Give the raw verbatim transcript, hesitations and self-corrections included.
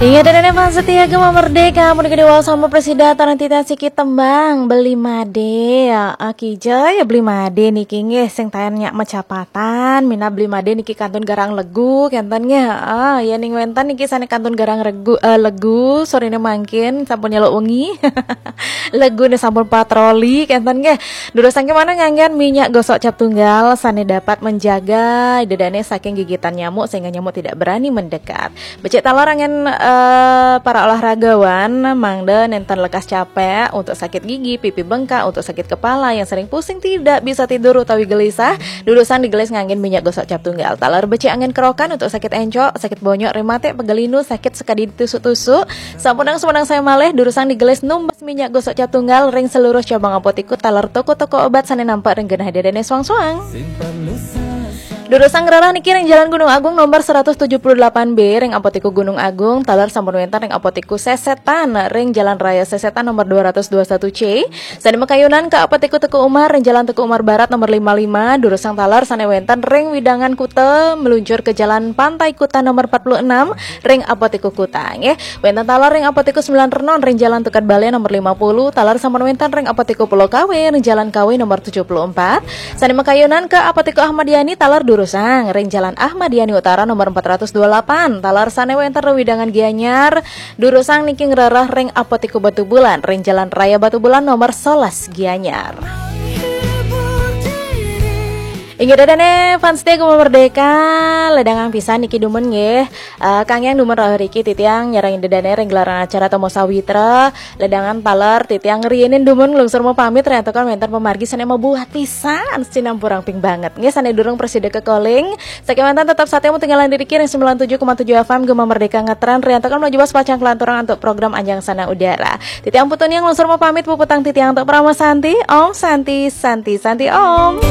Inggih dah, fans setia Gema Merdeka, mun gede wau sama presida tarang titiang sikit tembang Beli Made. Ya, aki ja ya Beli Made niki nggih sing tayan nyak macapatan, mina Beli Made niki kantun garang legu kenten nggih. Ah, ya ning wenten niki sane kantun garang regu, eh, legu, sorine mangkin sampun nyeluk wengi. Legune sampun patroli kenten nggih. Durusang kemana nganggen minyak gosok cap tunggal sane dapat menjaga dedane saking gigitan nyamuk sehingga nyamuk tidak berani mendekat. Becik taler angen, eh, para olahragawan, mangda nenten lekas capek, untuk sakit gigi, pipi bengkak, untuk sakit kepala, yang sering pusing, tidak bisa tidur utawi gelisah, durusang digelis nganggen minyak gosok cap tunggal. Taler becik angen kerokan untuk sakit encok, sakit bonyok, rematik, pegal linu, sakit sekadi ditusuk-tusuk. Sampunang sumenang saya malih, durusang digelis numbas minyak gosok cap tunggal ring seluruh cabang apotiku taler toko-toko obat sane nampak ring genah dedene suang-suang. Durusang ngrereh niki ring Jalan Gunung Agung nomor seratus tujuh puluh delapan B ring Apotiku Gunung Agung, taler sampun wenten ring Apotiku Sesetan ring Jalan Raya Sesetan nomor dua ratus dua satu C. Sane makayunan ka Apotiku Teuku Umar ring Jalan Teuku Umar Barat nomor lima lima, durusang taler sane wenten ring wewidangan Kuta meluncur ke Jalan Pantai Kuta nomor empat puluh enam ring Apotiku Kuta nggih. Wenten taler ring Apotiku Sembilan Renon ring Jalan Tukad Bale nomor lima puluh, taler sampun wenten ring Apotiku Pulau Kawe ring Jalan Kawe nomor tujuh puluh empat. Sane makayunan ke Apotiku Ahmad Yani taler durusang ring Jalan Ahmad Yani Utara nomor empat ratus dua puluh delapan. Taler sane wenten ring wewidangan Gianyar, durusang niki ngrereh ring Apotiku Batubulan ring Jalan Raya Batubulan nomor sebelas Gianyar. Inggih dedane fans setia Gema Merdeka, ledangang pisan niki dumun nggih. Eh, kangge dumun rauh riki titiang nyarengin dedane ring gelaran acara Temu Sawitra. Ledangan taler titiang riinin dumun nglungsur mapamit, riantukan wenten pamargi sane mabuat pisan, sinampura ping banget. Nggih, sane durung prasida kekalih, sakewanten tetep satia matinggalan diri ring sembilan tujuh koma tujuh F M Gema Merdeka ngetren, riantukan menuju bas pacang kelanturang untuk program Anjang Sana Udara. Titiang Putu Niang nglungsur mapamit, puputang titiang antuk Parama Santi. Om Santi, Santi, Santi Om.